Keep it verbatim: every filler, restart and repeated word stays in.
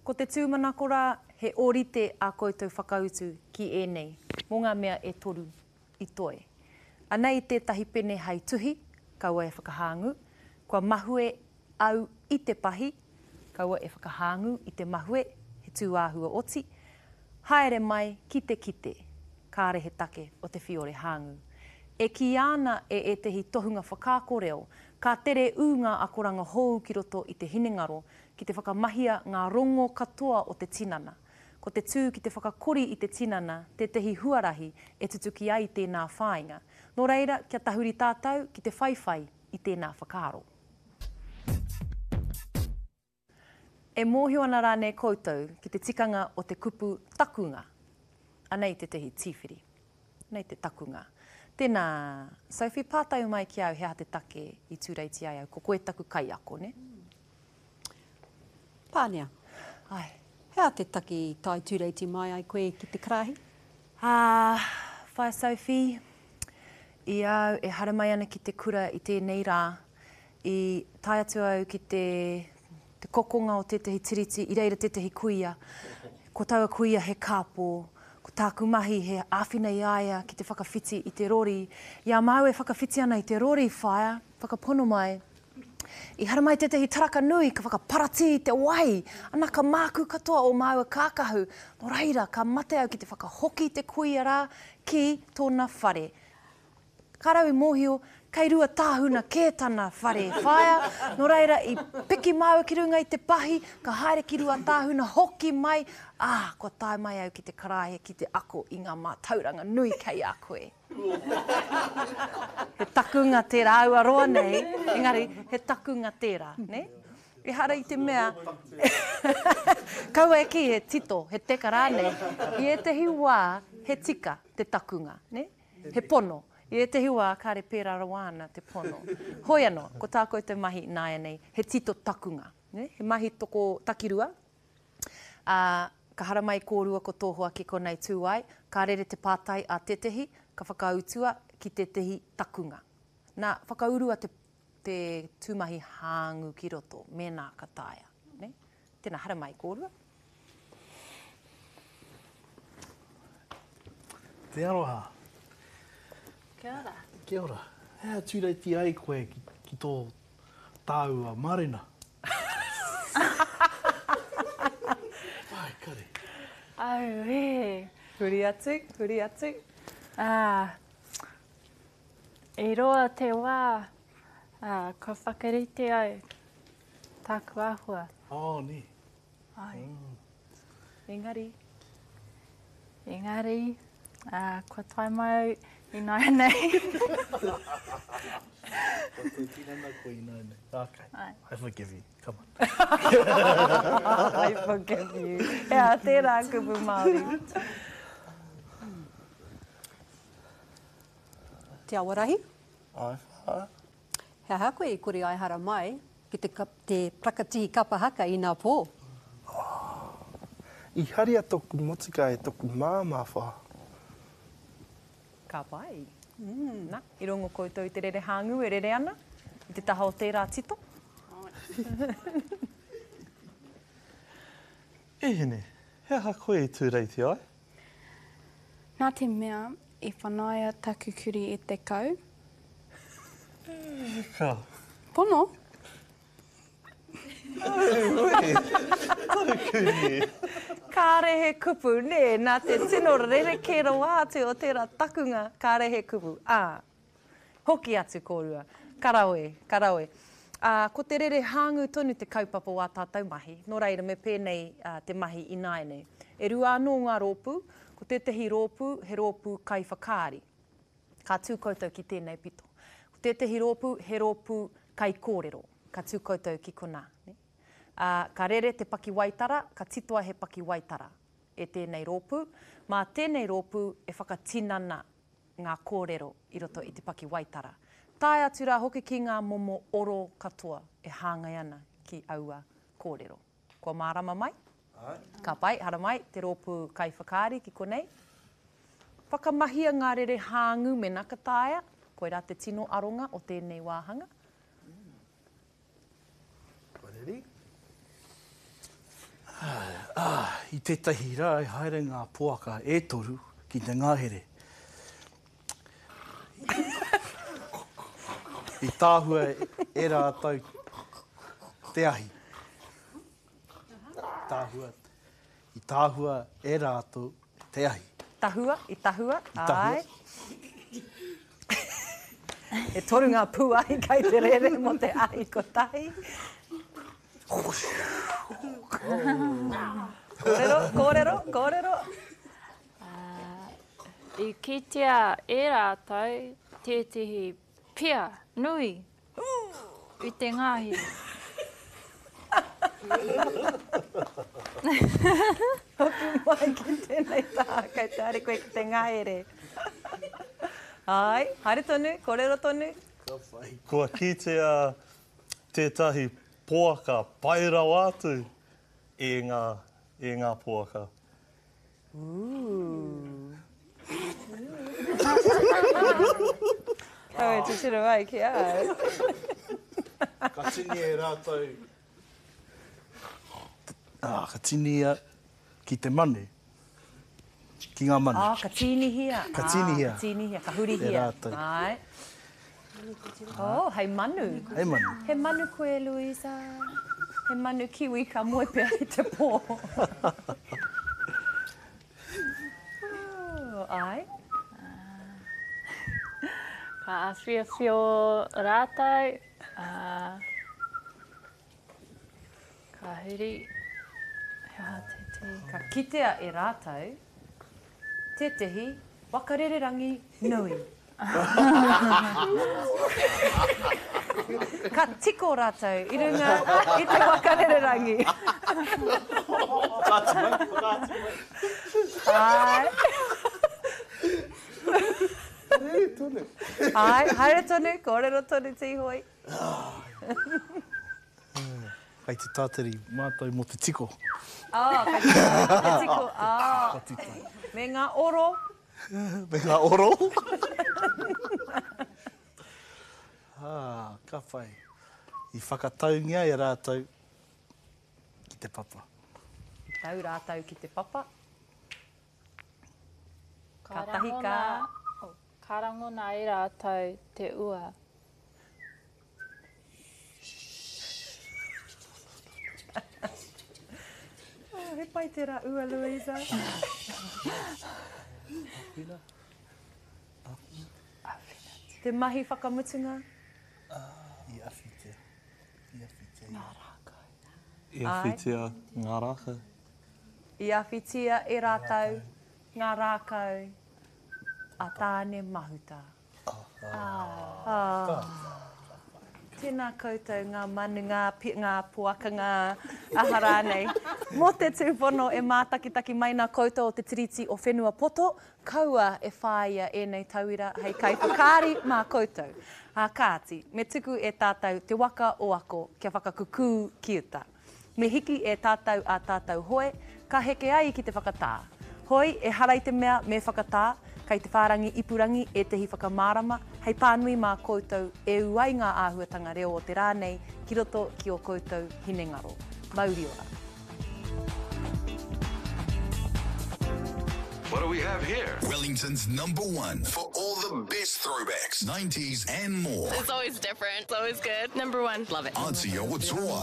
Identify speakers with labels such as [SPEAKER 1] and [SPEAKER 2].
[SPEAKER 1] Ko te tūmanako rā, he ōrite ā koutou whakautu ki ēnei, mō ngā mea e toru i toe. Anei tētahi pene hei tuhi, kaua e whakahāngū, kua mahue au i te pahi, kaua e whakahāngū i te mahue, he tūāhua oti, haere mai ki te kite, kāre he take o te whiore hāngū. E kīia ana e ētehi tohunga whakaako reo, ka tere ū ngā akoranga hou ki roto i te hinengaro ki te whakamahia ngā rongo katoa o te tinana. Ko te tū ki te whakakori i te tinana tētehi huarahi e tutuki ai tēnā whāinga. Nō reira, kia tahuri tātou ki te whaiwhai i tēnā whakaaro. E mōhio ana rānei koutou ki te tikanga o te kupu takunga? Anei tētehi tīwhiri. Anei te takunga. Tēnā, Sophie, pātai mai ki au he aha te take i tūreiti ai au. Ko koe taku kaiako, ne?
[SPEAKER 2] Pānia.
[SPEAKER 1] Ai.
[SPEAKER 2] He aha te take i tae tūreiti mai ai koe ki te karahi?
[SPEAKER 1] Ah, whaea Sophie, i au e haere mai ana ki te kura i tēnei rā, i tae atu au ki te, te kokonga o tētehi tiriti, i reira tētehi kuia. Ko taua kuia he kāpō, ko tāku mahi he āwhina i a ia ki te whakawhiti i te rori. I a māua e whakawhiti ana i te rori, whaea, whakapono mai, i haramai tētehi taraka nui ka whakaparatī i te wai, ana ka mākū katoa o māua kākahu. Nō reira, ka mate au ki te whakahoki te kuia rā ki tōna whare. Ka rau i mōhio, kei Ruatāhuna kē tana whare, whaea. Nō reira, i piki māua ki runga i te pahi, ka haere ki Ruatāhuna, hoki mai, ā, kua tae mai au ki te karaehe ki te ako i ngā mātauranga nui kei a koe. He takunga tērā, aua roa nei, engari he takunga tērā, ne? Ehara i te mea, kaua e kī he tito, he teka rānei, i ētehi wā he tika te takunga, ne? He pono. I ētehi wā kāre pērā rawa ana te pono. Hoi anō, ko tā koutou mahi ināianei, he tito takunga, ne? He mahi toko takirua, ā, ka haramai kōrua ko tō hoa ki konei tū ai, ka rere te pātai a tētehi, ka whakautua ki tētehi takunga. Nā, whakaurua te, te tūmahi hāngu ki roto, mēnā ka taea, ne? Tēnā, haramai kōrua.
[SPEAKER 3] Te aroha.
[SPEAKER 4] Kia ora.
[SPEAKER 3] Kia ora. He aha tūreiti ai koe ki, ki tō tāua marena? Ai, kare.
[SPEAKER 4] Auē.
[SPEAKER 1] Huri atu, huri atu.
[SPEAKER 4] Ah, i roa te wā, ah, kua whakarite au tāku āhua.
[SPEAKER 3] Oh, nē.
[SPEAKER 4] Ai.
[SPEAKER 3] Mm.
[SPEAKER 1] Engari.
[SPEAKER 4] Engari, ah, kua tae mai au ināianei.
[SPEAKER 3] Kua tō tinana koe ināianei. Okay.
[SPEAKER 4] Ai.
[SPEAKER 3] I forgive you. Come on.
[SPEAKER 1] I forgive you. He aha tērā kupu Māori?
[SPEAKER 2] Te Awarahi?
[SPEAKER 3] Ai, wha.
[SPEAKER 2] He aha koe i kore ai hara mai ki te, te prakatihi kapa haka i nā pō?
[SPEAKER 5] Oh, i haria toku motuka e toku māmā, wha.
[SPEAKER 1] Ka pai. Mm. Na, i rongo koutou i te rere hāngū e rere ana i te taha o tērā tito?
[SPEAKER 5] E hine, he aha koe i tūreiti ai?
[SPEAKER 6] Nā te mea, i whanaia taku kuri e te kau.
[SPEAKER 5] E ka.
[SPEAKER 6] Pono?
[SPEAKER 5] Auē, tau kuri e.
[SPEAKER 1] Kāre he kupu, nē, nā te tino rerekē rawa atu o tērā takunga, kāre he kupu. Ā, hoki atu kōrua. Ka rawe, ka rawe. Ā, ko te rere hāngū tonu te kaupapa o ā tātou mahi, nō reira me pēnei te mahi ināianei. E rua anō ngā rōpū, ko tētehi rōpū he rōpū kaiwhakaari. Ka tū koutou ki tēnei pito. Ko tētehi rōpū he rōpū kaikōrero. Ka tū koutou ki konā. Ā, ka rere te pakiwaitara, ka titoa he pakiwaitara e tēnei rōpū. Mā tēnei rōpū e whakatinana ngā kōrero i roto i te pakiwaitara. Tae atu rā hoki ki ngā momo oro katoa e hāngai ana ki aua kōrero. Kua mārama mai?
[SPEAKER 5] Āe.
[SPEAKER 1] Ka pai, haramai, te rōpū kaiwhakaari ki konei. Whakamahia ngā rere hāngū mēnā ka taea, koirā te tino aronga o tēnei wāhanga.
[SPEAKER 5] Kua reri? Āe.
[SPEAKER 3] tētahi rā i haere ngā poaka e toru ki te ngahere. I tāhua e rātou te ahi. Tāhua, i tāhua e rātou te ahi.
[SPEAKER 1] Tahua, i tahua,
[SPEAKER 3] I tahua.
[SPEAKER 1] Āe. E toru ngā pūahi kei te rere mō te ahi kotahi. Kōrero, kōrero, kōrero.
[SPEAKER 4] I kitea e rātou tētehi pia nui i te ngahere.
[SPEAKER 1] Hoki mai ki tēnei taha, kei te haere koe ki te ngahere. Āe, haere tonu, kōrero tonu.
[SPEAKER 7] Kua kitea tētahi poaka pai rawa atu e ngā, e ngā poaka.
[SPEAKER 1] Ooh. Kaua e titiro mai ki au.
[SPEAKER 3] Ka tini e rātou. Ah, ka tinia ki te manu. Ki ngā manu.
[SPEAKER 1] Ah, ka tīnihia.
[SPEAKER 3] Ka tīnihia.
[SPEAKER 1] Ah, ka tīnihia, ka hurihia.
[SPEAKER 3] E rātou.
[SPEAKER 1] Āe. Oh, hei manu.
[SPEAKER 3] Hei manu.
[SPEAKER 1] He manu koe, Louisa. He manu kiwi ka moe pea i te pō. Oh, āe.
[SPEAKER 4] Ka awhiawhio rātou, uh, ka huri, he aha te te.
[SPEAKER 1] Ka kitea e rātou tētehi waka rererangi nui. Ka tiko rātou i runga i te waka rererangi.
[SPEAKER 3] Whakaatu mai, whakaatu mai.
[SPEAKER 1] Āe.
[SPEAKER 5] Haere tonu.
[SPEAKER 1] Āe, haere tonu, kōrero tonu Tīhoi.
[SPEAKER 3] Kei te tātari mātou mō te tiko.
[SPEAKER 1] Ah, kei te tātari te tiko, ah.
[SPEAKER 3] Ka tītai.
[SPEAKER 1] Me ngā oro.
[SPEAKER 3] Me ngā oro. Ah, ka whai. I whakataungia e rātou ki te papa.
[SPEAKER 1] I tau rātou ki te papa.
[SPEAKER 4] Ka
[SPEAKER 1] Ka tahi ka...
[SPEAKER 4] rangona, oh, ka rangona e rātou te ua.
[SPEAKER 1] Oh, he pai tērā ua, Louisa.
[SPEAKER 3] Awhina.
[SPEAKER 1] Te mahi whakamutunga.
[SPEAKER 3] I awhitia. I awhitia.
[SPEAKER 4] Ngā rākau.
[SPEAKER 7] I awhitia ngā rākau.
[SPEAKER 1] I awhitia e rātou ngā rākau a Tāne Mahuta. Ah. Tēnā koutou ngā manu, ngā, ngā poaka, ngā aha rānei. Mō te tūpono e mātakitaki mai nā koutou o te Tiriti o Whenua Poto, kaua e whāia ēnei tauira hei kaiwhakaari mā koutou. Ā kāti, me tuku e tātou te waka o ako kia whakakukū ki uta. Me hiki e tātou a tātou hoe, ka heke ai ki te whakatā. Hoi, e hara i te mea me whakatā, kei te whārangi ipurangi ētehi whakamārama, hei pānui mā koutou e ū ai ngā āhuatanga reo o te rā nei ki roto ki o koutou hinengaro. Mauri ora.
[SPEAKER 8] What do we have here?
[SPEAKER 9] Wellington's number one for all the best throwbacks, nineties and more.
[SPEAKER 6] It's always different. It's always good. Number one. Love it.
[SPEAKER 9] Aotearoa.